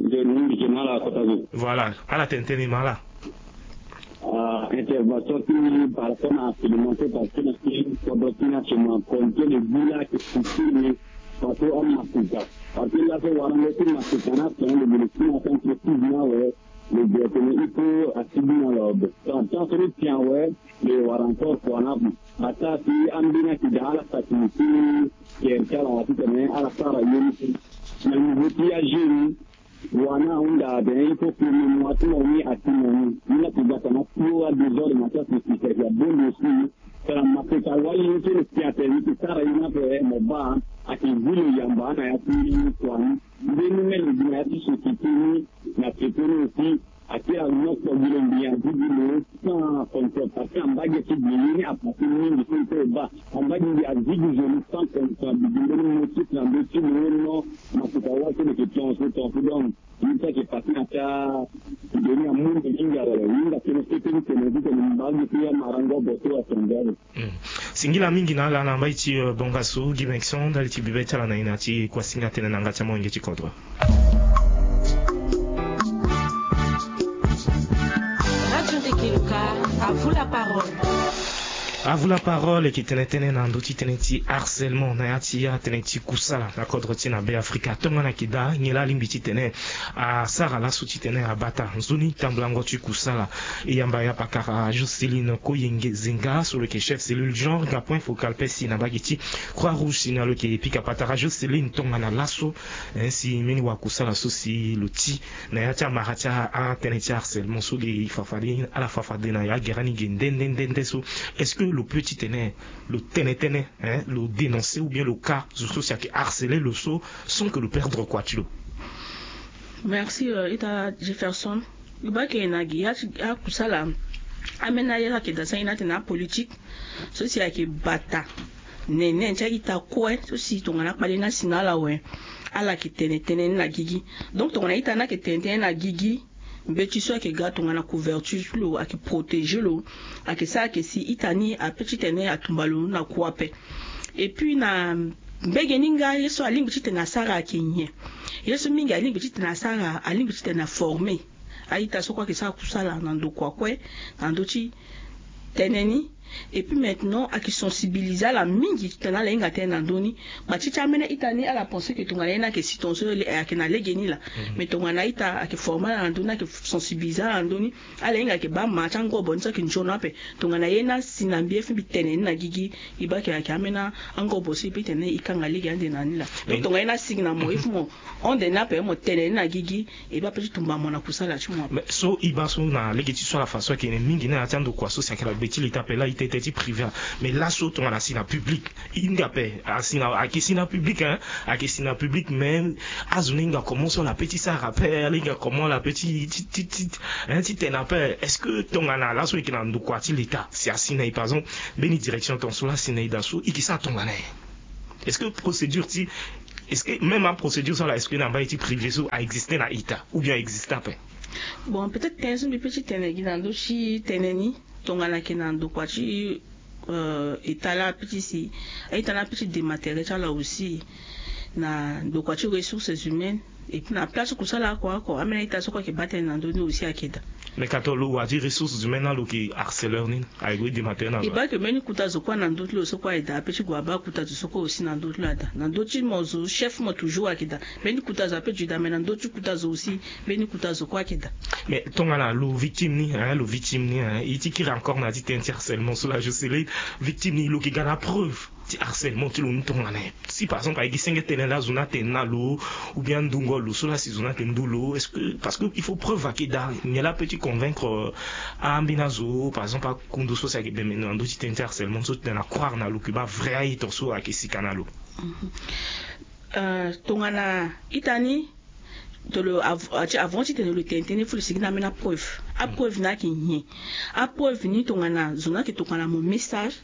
Nzoni, mbi ke ma ala kota zo. Voilà, ala tene tënë, e ma ala. Ah, intervention ti mbi par rapport na supplémentaire, parce que na ti kodro ti ni actuellement, compte le village ti ni, parce que amakuta. Parce que laso warango ti makuta na son le bele ti na entreprise ni awe. Lo gue atene il faut asigi na lo abe. Tant so lo tien awe, lo wara encore kua na ape. Ataa si ambeni ayeke daa ala saki ti kere ti ala titene ala sara ye ni. Na niveau ti ajeune, wani ahunda atene il faut que mo mu ati mo ni ati mo ni. Ni la ti gbata na pio adésordre na ti asociété ayeke abonde aussi. Tara makuta wali ni so lo tien atene ni ti sara ye ni ape, mo baa ayeke zi lo yamba na ya ti kua ni. Mbeni mene gi na ya ti société ni na peko ni aussi, ake anoko gi lo mbi andi gi lo sans contrôle, parce que ambage ti gi ye ni apassé mingi so e baa. Ambage mbi azi gi zo ni sans contrôle, mbi gi mbeni motif na ndö ti lo, non, makuta wali so lo yeke tongaso tongaso. Donc ye so ayeke passe na ti ando ni amu ndo mingi awe. Hinga tënë so e peut ti tene titene mbi baa gi so ya marango boto atonga awe. Singila mingi na ala na mbai ti, euh, bongaso, Guy Mexon, ndali ti bibe ti ala na e na ti kuasinga tënë na yanga ti amolenge ti kodro. Radio Ndekeloka, à vous la parole. Avu la parole eke tene tene na ndo ti tene ti harcèlement na ya ti ya tene ti kusala na kodro ti na Be Afrika. Tongana eke daa nyen la alingbi ti tene asara laso ti tene abata nzoni tambulango ti kusala? E yamba ya pakara Joceline Koyenge Zenga so lo yeke chef cellule genre nga point focal pe si na mbage ti Croix Rouge si na lo yeke pika patara. Joceline, tongana laso, eh, si mbeni wakusala so si lo ti na ya ti amara ti atënë ti harcèlement so ge e fafade ala fafade na ya gere ni ge nde nde nde nde so, est-ce que lo peut ti tene lo tene tënë, hein, lo dénoncer ou bien lo ka zo so si ayeke harceler lo so sans que lo perdre kua ti lo? Merci, euh, ita Jefferson. Lo baa ke na gi ya ti akusala, ambeni aye so ayeke daa sani ni atene apolitique so si ayeke bata nene ti a-ita kue so si tongana akpale ni asi na ala awe, ala yeke tene tënë ni na gigi. Donc tongana ita ni ayeke tene tënë ni na gigi, mbeti so ayeke ga tongana couverture ti lo ayeke protéger lo, ayeke sara ayeke si ita ni ape ti tene atumba lo na kua ape. Et puis na mbege ni nga ye so alingbi ti tene asara ayeke nyen? Ye so mingi alingbi ti tene asara alingbi ti tene aformer a-ita so kue ayeke sara kusala na ndokua kue na ndö ti tënë ni. Et puis maintenant ayeke sensibiliser ala mingi titene ala hinga tënë na ndö ni. Gba ti ti ambeni a-ita ni ala pense ke tongana ye ni ayeke si tongaso ayeke na lege ni laa. Mais tongana a-ita ayeke former ala na ndö ni, ayeke sensibiliser ala na ndö ni, ala hinga yeke baa ma ti angobo ni so ayeke nzoni ape. Tongana ye ni asi na mbi, e fini mbi tene ni na gigi, e baa ke ayeke ambeni angobo so e peut tene e kanga lege ande na ni laa. Donc tongana ye ni asi na mo, e fini mo hon de ni ape, mo tene ni na gigi, e baa ape ti tumba mo na kusala ti mo ape. Mais so e baa so na lege ti so ala fa so ayeke mingi na ya ti andokua so si ayeke na gbe ti leta ape laa, e tene tënë ti privé. Mais laso tongana asi na public, e hinga ape asi na, ayeke si na public, hein, ayeke si na public, mais azo ni hinga comment so ala peut ti sara ape, ala hinga comment ala peut ti ti ti ti, hein, ti tene ape. Est-ce que tongana laso e yeke na ndokua ti leta si asi na e, par exemple, mbeni direction tongaso laa asi na e daa so, e yeke sara tongana nyen? Est-ce que procédure ti, est-ce que même aprocédure so ala expliquer na mbage ti privé so a existe na ita ou bien a existe ape? Bon, peut-être tënë so mbi peut ti tene gi na ndö ti tënë ni, tongana ayeke na ndokua ti, euh, état laa ape ti si a-ita ni ape ti dema tere ti ala aussi na ndokua ti ressources humaines. Et puis na place ti kusala oko oko, ambeni a-ita so kue ayeke baa tënë na ndö ni aussi ayeke daa. Mais ka to lo wa ti ressources humaines na lo yeke harceleur ni, ayeke gue dema tere na lo? E baa ke mbeni kota zo kue na ndö ti lo so kue ayeke daa, ape ti gue abaa kota zo so kue aussi na ndö ti lo ada. Na ndö ti mo zo chef mo toujours ayeke daa. Mbeni kota zo ape ti gue daa, mais na ndö ti kota zo aussi mbeni kota zo kue ayeke daa. Mais tongana lo victime ni, hein, lo victime ni, hein, e ti kiri encore na ya ti tënë ti harcèlement so laa, Joceline, victime ni lo yeke ga na preuve ti harcèlement ti lo ni tongana nyen? Si par exemple ayeke gi senge tënë laa zo ni atene na lo, ou bien andungo lo so laa si zo ni ayeke ndu lo, est-ce que, parce que il faut preuve ayeke daa, nyen laa apeut ti convaincre, euh, ambeni azo, par exemple akundo so si ayeke bembe na ndö ti tënë ti harcèlement so ti tene na croire na lo ke baa vrai a-ita so ayeke sika na lo? Mhm. Euh, tongana ita ni, to lo av-, ati avant ti tene lo tene tënë, il faut lo sigi na ambeni apreuve. Apreuve ni ayeke nyen? Apreuve ni tongana zo ni ayeke tokua na mo message,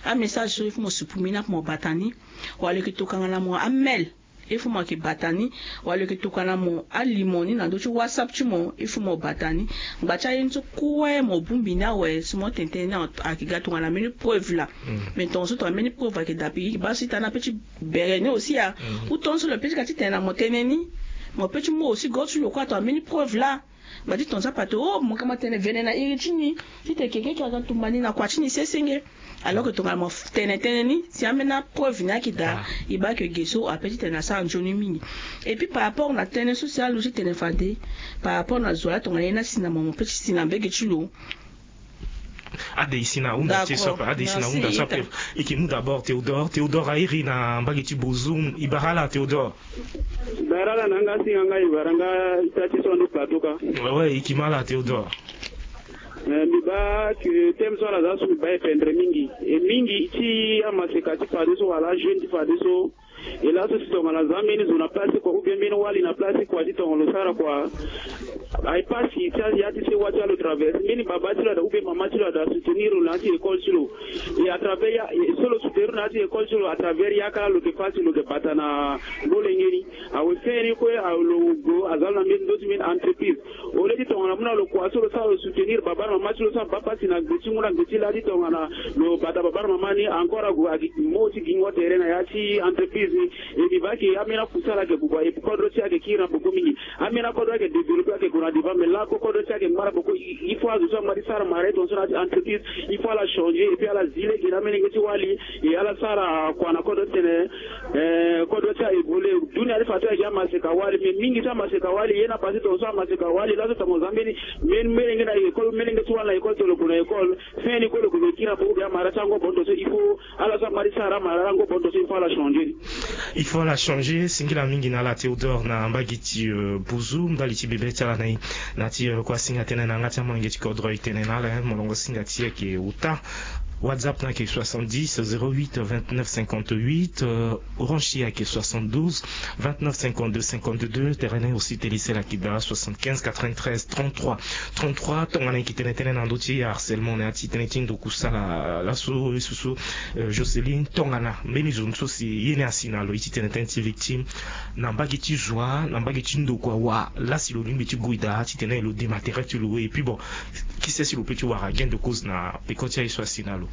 amessage so il faut mo supprimer ni ape mo bata ni, wala lo yeke tokua na mo amail, il faut mo yeke bata ni, wala lo yeke tokua na mo alimo ni na ndö ti WhatsApp ti mo, il faut mo bata ni. Ngba ti aye ni so kue mo bongbi ni awe, si mo tene tënë ni ayeke ga tongana mbeni preuve laa. Mm. Mais tongaso tongana mbeni preuve ayeke daa, mbi baa so ita ni apeut ti bere ni aussi a. Mm. Ou tongaso lo peut ti ga ti tene na mo tënë ni, mo peut ti mu aussi go ti lo kue tongana mbeni preuve laa. Ngba ti tongaso ape atene, oh, mo yeke ma tene vene na iri ti ni titene keke ayeke ga tumba ni na kua ti ni sesenge. Alors que tongana mo tene tënë ni, si ambeni apreuve ni ayeke daa, e baa ke ge so apeut ti tene asara nzoni mingi. Et puis par rapport na tënë so si aluti tene fade, par rapport na zo laa tongana ye ni asi na mo, mo peut ti si na mbege ti lo. Ade e si na ahunda ti e so ape, ade e si na ahunda so ape. E yeke mu d'abord Théodore. Théodore a iri na mbage ti Bozoum. E bara ala Théodore? Bara ala na yanga si yanga e bara nga ita ti so ande plateau ka. Ouais, ouais, e yeke ma ala Théodore. Eh, mbi baa ke thème so ala za so mbi baa e pendre mingi. E mingi ti amaseka ti fadeso wala ajeune ti fadeso. E laso si tongana za mbeni zo na place ti kua ou bien mbeni wali na place ti kua ti tongana lo sara kua, aye pasi ti ya ti sewa ti ala lo traverse. Mbeni baba ti lo ada ou bien mama ti lo ada soutenir lo na ya ti école ti lo. Et à travers ya, et so lo soutenir lo na ya ti école ti lo, à travers yaka laa lo yeke fâ si lo yeke bata na molenge ni. Awe, fini kue, awe, lo gue aza lo na mbeni ndö ti mbeni entreprise. Au lieu ti tongana mu na lo kua so lo sara lo soutenir baba na mama ti lo so abaa pasi na gbe ti ngu na gbe ti lâ ti tongana lo bata baba na mama ni, encore ague agi mo ti gingo tere na ya ti entreprise ni. E mbi baa ke ambeni akusala ayeke bubua, e kodro ti e ayeke kiri na boko mingi. Ambeni akodro ayeke développer, ayeke gue na Adeba me la ko kodo ti ake mara boko il faut azo so amari sara mara eton so na ti entreprise il faut ala changer et puis ala zile gena melenge ti wali. Et ala sara kua na kodo tene eh kodo ti a évoluer dunia ti fa ti ake amaseka wali mais mingi so amaseka wali ye na pase ton so amaseka wali la so tango zambeni. Meni melenge na école melenge ti wali na école tolopo na école. Feni ko lo ko be kira po ko be amara ti ango bon ton so il faut ala so amari sara mara ango bon ton so il faut ala changer. Il faut ala changer singila mingi na ala Théodore na mbagi ti bozu ndali ti bebe ti ala na ye. Na ti kua singa tene na yanga ti amolenge ti kodro e tene na ala molongo singa ti eke uta. WhatsApp na eke soixante-dix zéro huit vingt-neuf cinquante-huit. Orange ti ake soixante-douze vingt-neuf cinquante-deux cinquante-deux. Terene aussi telisel ake da soixante-quinze quatre-vingt-treize trente-trois trente-trois. Tongana eke tene tene na ndö ti harcèlement na ya ti tene ti ndoku sala laso e susu. Joseline tongana mbeni zo so si ye ni asi na lo ye ti tene tënë ti victime na mbage ti zo wa na mbage ti ndokua wa lasi lo lingbi ti gui daa titene lo dema tere ti lo et puis bon kise si lo pe ti wara gain de cause na peko ti aye so asi na lo.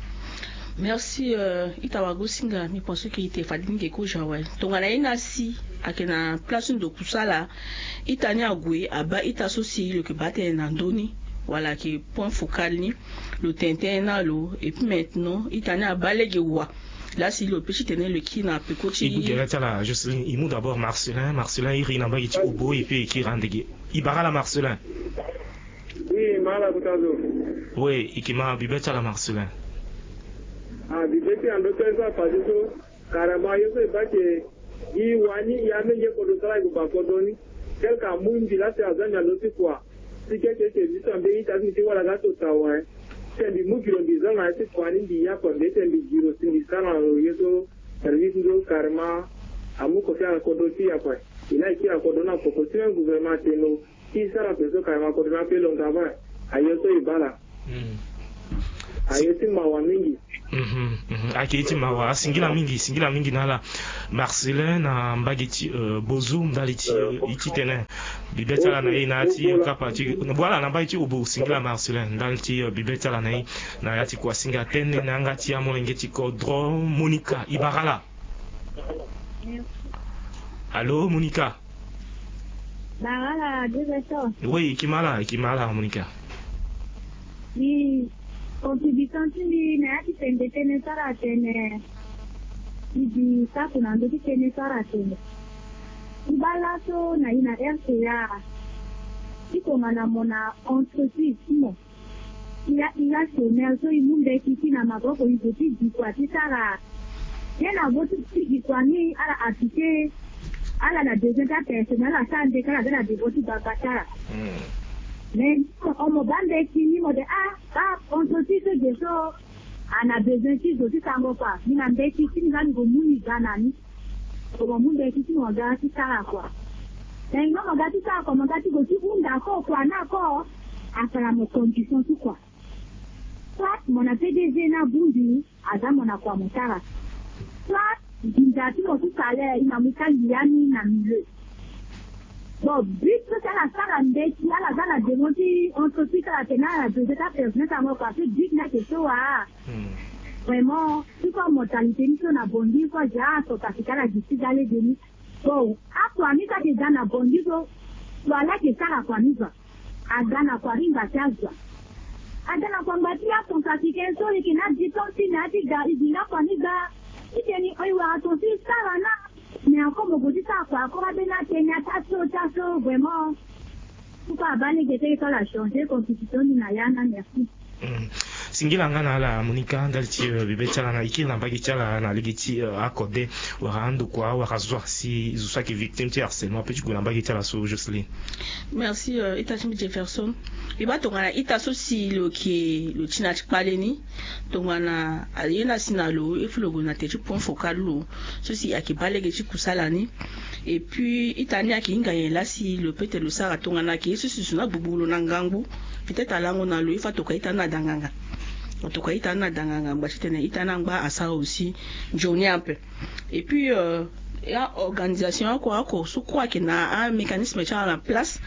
Merci. Ita wagosinga mbi pense ke ite fade ni nge kozo awe tongana ye ni asi ayeke na place ti ndoku sala ita ni ague abaa ita so si lo yeke baa tënë na ndö ni wala ayeke point focal ni. Lo tene tënë na lo et puis maintenant ita ni abaa lege wa. Lasi lo pe ti tene lo kiri na peko ti e mu gere ti ala Jocelyn e mu d'abord Marcelin Marcelin iri na mbage ti obo et puis e kiri andege e bara ala Marcelin. Oui ma ala kota zo. Oui e ke ma bibe ti ala Marcelin. Ah bibe ti ando tënë so apasse so. Karama ye so e baa ke gi wani ya menge kodro sara e gue baa kodro ni. Tel ka mu mbi lasi aza mbi ando ti kua. Si keke eke zi so ambe ita ti mbi ti wara ga so tawa. Ti mbi mu gi lo mbi za na ye ti kua ni mbi ya kua mbi ete mbi gi lo si mbi sara na lo ye so. Service ndo karama. Amu kofi ala kodro ti ya kua. E na e kiri ala kodro ni na poko ti même gouvernement atene lo. Ti sara pe so karama kodro ni ape lo nga va. Aye so e baa la. Aye ti mawa mingi. Ayeke ye ti mawa asingila mingi singila mingi na ala. Marcelin na mbage ti bozu ndali ti e ti tene bibe ti ala na e na ya ti kapa ti wala na mbage ti obo singila Marcelin ndali ti bibe ti ala na e. Na ya ti kua singa tënë na yanga ti amolenge ti kodro Monica e bara ala. Allo Monica. Bara ala deux heures. Oui e ke ma ala e ke ma ala Monica. Mbi contribution ti mbi na ya ti tene tënë so ala tene. Mbi bi sako na ndö ti tënë so ala tene. Ti baa laso na e na R C A. Ti tongana mo na entreprise ti mo. I la i la chômeur so i mu mbeti ti na maboko i zo ti gi kua ti sara. Ye na vo ti gi kua ni ala apite. Ala na besoin ti apersonnel ala sara mbeti ala ga na devant ti baba ti ala. Mais mo baa mbeti ni mo de ah baa entreprise so ge so. A na besoin ti zo ti sango kua mbi na mbeti ti mbi nga mbi gue mu ni ga na ni. Mo gue mu mbeti ti mo ga ti sara kua. Mais i nga mo ga ti sara kua mo ga ti gue ti hunda ko kua na ko. Asara mo condition ti kua. Soit mo na P D G na bongbi aza mo na kua mo sara. Soit nginza ti mo ti salaire i na mu tangi ya ni na milieu. Bon but so si ala sara mbeti ala za na devant ti entreprise ala tene ala besoin ti apersonnel ti ango kua so but ni ayeke so wa. Vraiment ti so amortalité ni so na bongbi so aza so kasi ti ala gi ti ga lege ni. Bon akua ni so ayeke za na bongbi so. Lo ala yeke sara kua ni zo. Aga na kua ri ngba ti azo. Aga na kua ngba ti acentrafricain so e yeke na diplôme ti na ya ti ga e gi nga kua ni ga. Ti teni e wara ton so e sara na. Mais encore mo gue ti sara kua encore abeni ateni ata so ota so vraiment. Pourquoi abaa lege ti aye so ala changer constitution ni na ya na merci. Singila nga na ala Monica ndali ti bibe ti ala na e kiri na mbage ti ala na lege ti akode. Wala andokua wala zo si zo so ayeke victime ti harcèlement ape ti gue na mbage ti ala so Jocelyn. Merci. Ita ti mbi Jefferson. Mbi baa tongana ita so si lo yeke lo ti na ya ti kpale ni. Tongana aye na si na lo il faut lo gue na tere ti point focal lo so si ayeke baa lege ti kusala ni. Et puis ita ni ayeke hinga nyen laa si lo peut lo sara tongana ayeke ye so si zo na gbugburu lo na ngangu. Peut-être alango na lo il faut atoka ita ni na danganga. Atoka ita ni na danganga ngba titene ita ni angba asara aussi. Nzoni ape. Et puis ya organisation oko oko so kue ayeke na amécanisme ti ala na place.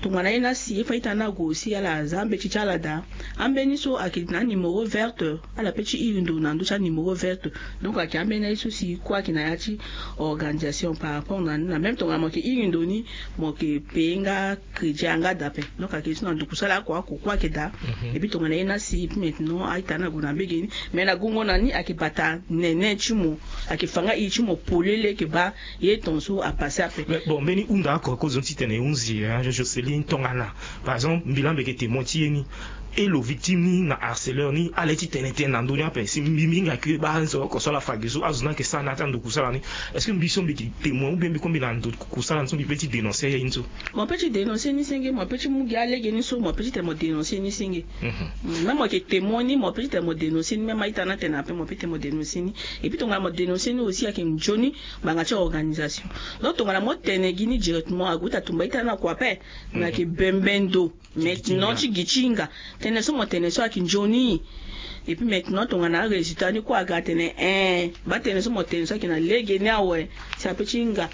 Tongana ye na si ye fa ita na go si ala aza ambeti ti ala daa. Ambeni so ayeke na animero verte. Ala pe ti iri ndo na ndö ti animero verte. Donc ayeke ambeni aye so si kue ayeke na ya ti organisation par rapport na ni na même tongana mo yeke iri ndo ni, mo yeke paye nga crédit yanga daa ape. Donc ayeke so na nduku sala ako ako kue ayeke daa. Epui tongana ye na si epui maintenant aita na go na mbege ni. Mais na gongo na ni ayeke bata nene ti mo. Ayeke fa nga iri ti mo polele yeke baa ye ton so apase ape. Mais bon mbeni hunda oko oko zo ni titene e hunzi Joseline tongana par exemple mbi lambe yeke témoin ti ye ni. E lo victime ni na harceleur ni ala ye ti tene tënë na ndö ni ape si mbi mbi hinga ke baa nzo oko so ala fa gi so azo ni ayeke sara na ya ti anduku sala ni? Est-ce que mbi so mbi yeke témoin ou bien mbi kue mbi na nduku sala ni so mbi pe ti dénoncer aye ni so? Mo pe ti dénoncer ni senge mo pe ti mu gi alege ni so mo pe ti tene mo dénoncer ni senge. Même mo yeke témoin ni mo pe ti tene mo dénoncer ni même aita na tene ape mo pe ti tene mo dénoncer ni. Epui tongana mo dénoncer ni aussi ayeke nzoni ngbanga ti organisation. Donc tongana mo tene gi ni directement ague ti atumba ita na kua ape. Na yeke bembe ndo maintenant ti gi ti hinga tënë so mo tene so ayeke nzoni. Epui maintenant tongana arésultat ni kue aga atene eh baa tënë so mo tene so ayeke na lege ni awe. Si ape ti hinga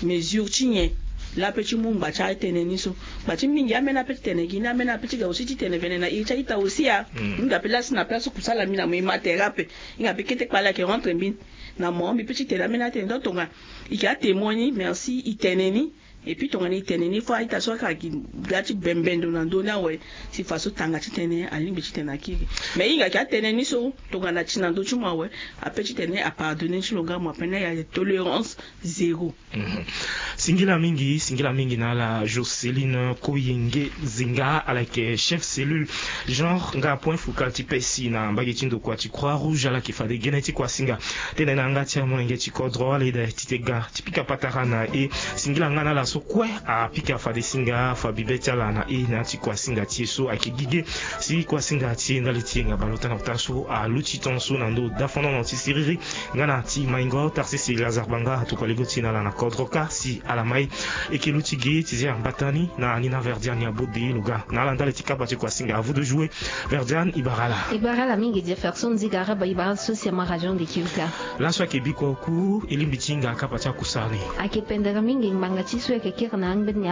mesure ti nyen? Laa ape ti mu ngba ti atënë ni so. Ngba ti mingi ambeni ape ti tene gi ni ambeni ape ti ga aussi ti tene vene na iri ti aita aussi a. Mingi ape laa si na place kusala mbi na mo e ma tere ape. Hinga ape kete kpale ayeke rentre mbi na mo mbi pe ti tene ambeni atënë donc tongana i ke atémoin ni merci i tene ni. Epui tongana i tene ni fo aita so aka gi ga ti bembe ndo na ndö ni awe. Si faso tanga ti tene alingbi ti tene akiri. Mais i hinga ke atene ni so tongana ti na ndö ti mo awe. Ape ti tene apardonner ti lo nga mo ape na ya tolérance zéro. Singila mingi singila mingi na ala Joseline Koyenge Zinga ala yeke chef cellule genre nga point focal ti pesi na mbage ti ndokua ti Croix Rouge ala yeke fade gene ti kuasinga. Tene na yanga ti amolenge ti kodro ala eda ti te ga ti pika patara na e. Singila nga na ala so kue apika fade singa fa bibe ti ala na e na ya ti kuasinga ti e so ayeke gi ge. Si kuasinga ti e ndali ti yenga baleota na kota so aluti tongaso na ndö dafandono ti siriri. Nga na ti maingo tarsisi lazare banga atokua lego ti e na ala na kodro kâ si ala ma e. E ke luti ge ti zia mbata ni na ni na verdiane abode lo ga na ala ndali ti kapa ti kuasinga avu de jouer. Verdiane e bara ala. E bara ala mingi jefferson nziga araba e bara ala so si ama radio nde ki uka. Laso ayeke bikua oku e lingbi ti hinga kapa ti akusara ni. Ayeke pendere mingi ngbanga ti so e yeke kiri na angbeni.